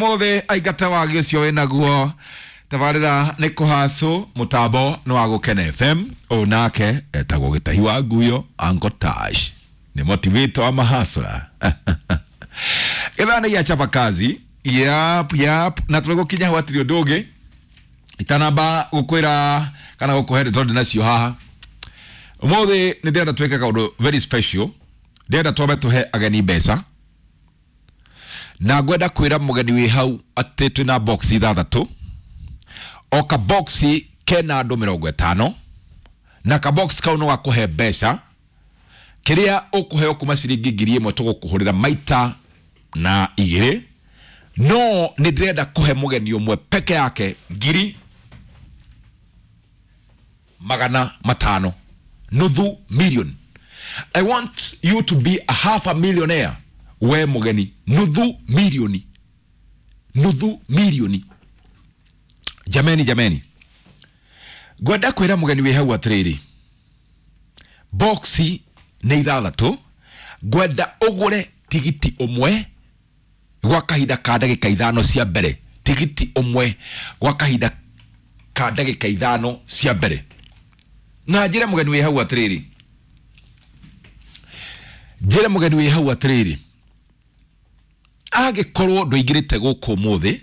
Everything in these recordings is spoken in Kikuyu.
Mothe aingata wagi ũcio wĩnaguo tabarĩra nĩ kũhacũ mũtambo nĩ wa Gũkena FM. Ũyũ nake etagwo Gĩtahi wa Nguyo, Uncle Tash nĩ motivator wa mahasũra. Gĩthaa nĩ gĩa chapa kazi. Yap yap, na tũrĩ gũkinya hau hatirĩ ũndũ ũngĩ itanamba gũkwĩra kana gũkũhe ndeto ndĩ nacio haha ũmũthĩ. Nĩ ndĩrenda twĩke kaũndũ very special. Ndĩrenda twambe tũhe ageni mbeca, na ngwenda kwĩra mũgeni wĩ hau atĩ twĩna box 6, o ka box kena andũ 50, na ka box kau no gakũhe mbeca kĩrĩa ũkũheo kuma ciringi 1000, tũgũkũhũrĩra maita na igĩrĩ. No nĩ ndĩrenda kũhe mũgeni ũmwe peke yake 500,000, nuthu million. I want you to be a half a millionaire. We mũgeni, nuthu milioni, nuthu milioni. Jameni, jameni, ngwenda kwĩra mũgeni wĩ hau atĩrĩrĩ, boxi nĩ 6. Ngwenda ũgũre tigiti ũmwe gwa kahinda ka ndagĩka 5 cia mbere, tigiti ũmwe gwa kahinda ka ndagĩka 5 cia mbere. Na njĩre mũgeni wĩ hau atĩrĩrĩ, njĩre mũgeni wĩ hau atĩrĩrĩ, angĩkorwo ndũingĩrĩte gũkũ ũmũthĩ,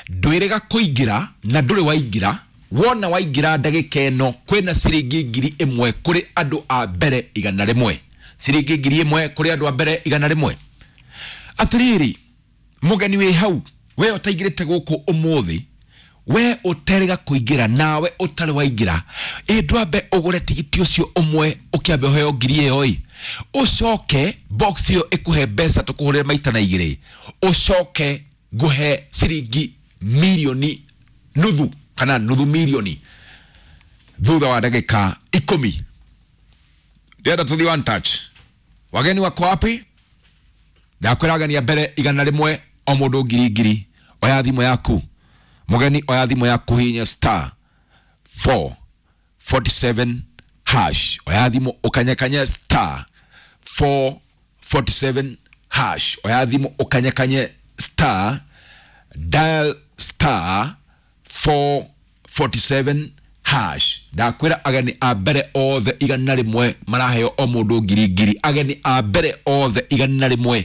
ndwĩrĩga kũingĩra na ndũrĩ waingĩra, wona waingĩra ndagĩka ĩno kwĩna ciringi 1000 kũrĩ andũ a mbere 100, ciringi 1000 kũrĩ andũ a mbere 100. Atĩrĩrĩ, mũgeni wĩ hau, we ũtaingĩrĩte gũkũ ũmũthĩ, we ũterĩga kũingĩra nawe ũtarĩ waingĩra, ĩ ndwambe ũgũre tigiti ũcio ũmwe, ũkĩambe ũheo ngiri ĩyo ĩ, ũcoke box ĩyo ĩkũhe mbeca tũkũhũrĩre maita na igĩrĩ, ũcoke ngũhe ciringi milioni nuthu kana nuthu milioni thutha wa ndagĩka 10. Ndĩrenda tũthiĩ one touch. Wageni wako wapi? Ndakwĩra ageni a mbere 100, o mũndũ ngiri ngiri. Oya thimũ yaku, mũgeni, oya thimũ yaku, hinya star 447 hash. Oya thimũ ũkanyekanye star 447 hash. Oya thimũ ũkanyekanye star, dial star 447 hash. Ndakwĩra ageni a mbere othe 100 maraheo o mũndũ ngiri ngiri. Ageni a mbere othe 100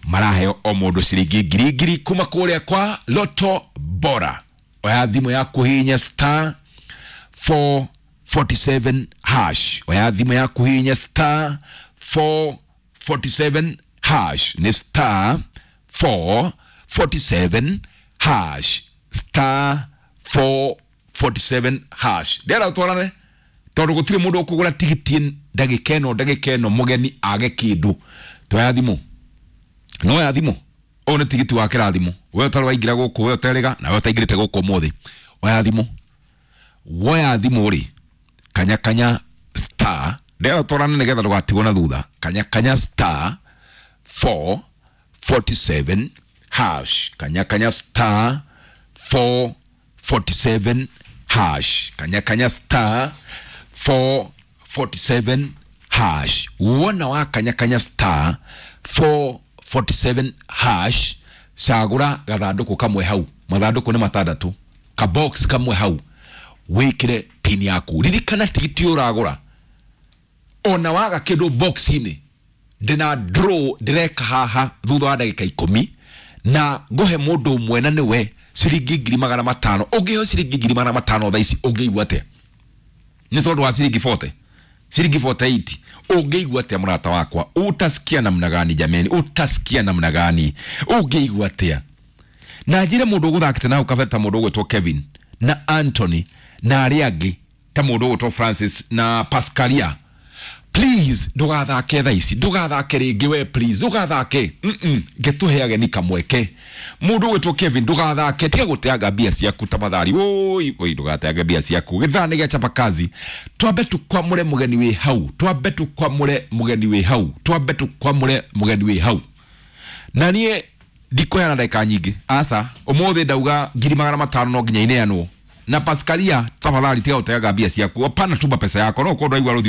maraheo o mũndũ ciringi ngiri ngiri kuma kũrĩa kwa Loto Bora. Oya thimũ yaku, hinya star 447 hash. Oya thimũ yaku, hinya star 447 hash. Nĩ star 447 hash, star 447 hash. Ndĩrenda twarane tondũ gũtirĩ mũndũ ũkũgũra tigiti ndagĩka ĩno, ndagĩka ĩno mũgeni age kĩndũ. Toya thimũ, no ya thimũ, ũyũ nĩ tigiti wa kĩrathimo. We ũtarĩ waingĩra gũkũ, we ũterĩga na we ũtaingĩrĩte gũkũ ũmũthĩ, oya thimũ. Woya thimũ rĩ, kanya kanya star. Ndĩrenda twarane nĩgetha ndũgatigwo na thutha. Kanya kanya star 447 hash. Kanya kanya star 447 hash. Kanya kanya star 447 hash. Wona wa kanya kanya star 447 hash, cagũra gathandũkũ kamwe hau, mathandũkũ nĩ 6, ka box kamwe hau, wĩkĩre pin yaku. Ririkana tigiti ũragũra, ona waga kĩndũ box-inĩ, ndĩna draw ndĩreka haha thutha wa ndagĩka 10, na ngũhe mũndũ ũmwe na nĩwe ciringi 500,000. Ũngĩheo ciringi 500,000 thaa ici, ũngĩigua atĩa? Nĩ tondũ wa ciringi 40, ciringi 48, ũngĩigua atĩa mũrata wakwa? Utasikia namna gani jameni? Utasikia namna gani? Ũngĩigua atĩa? Na njĩre mũndũ ũgũthakĩte na kabere ta mũndũ ũgwĩtwo Kevin na Anthony na arĩa angĩ ta mũndũ ũgwĩtwo Francis na Pascalia, please ndũgathake thaa ici, ndũgathake rĩngĩ. We please ndũgathake. Ngetũhe ageni kamweke. Mũndũ ũgwĩtwo Kevin, ndũgathake, tiga gũteanga mbia ciaku tafadhali. Oi oi, ndũgateange mbia ciaku. Gĩthaa nĩ gĩa chapa kazi. Twambe tũkwamũre mũgeni wĩ hau, twambe tũkwamũre mũgeni wĩ hau, twambe tũkwamũre mũgeni wĩ hau. Na niĩ ndikũheana ndagĩka nyingĩ, aca. Ũmũthĩ ndauga 500,000 no nginya ineanwo. Na Pascalia, tafadhali tiga gũteanga mbia ciaku. Hapana, tuma pesa yako. No ũkorwo ndwaigua rũthiomi.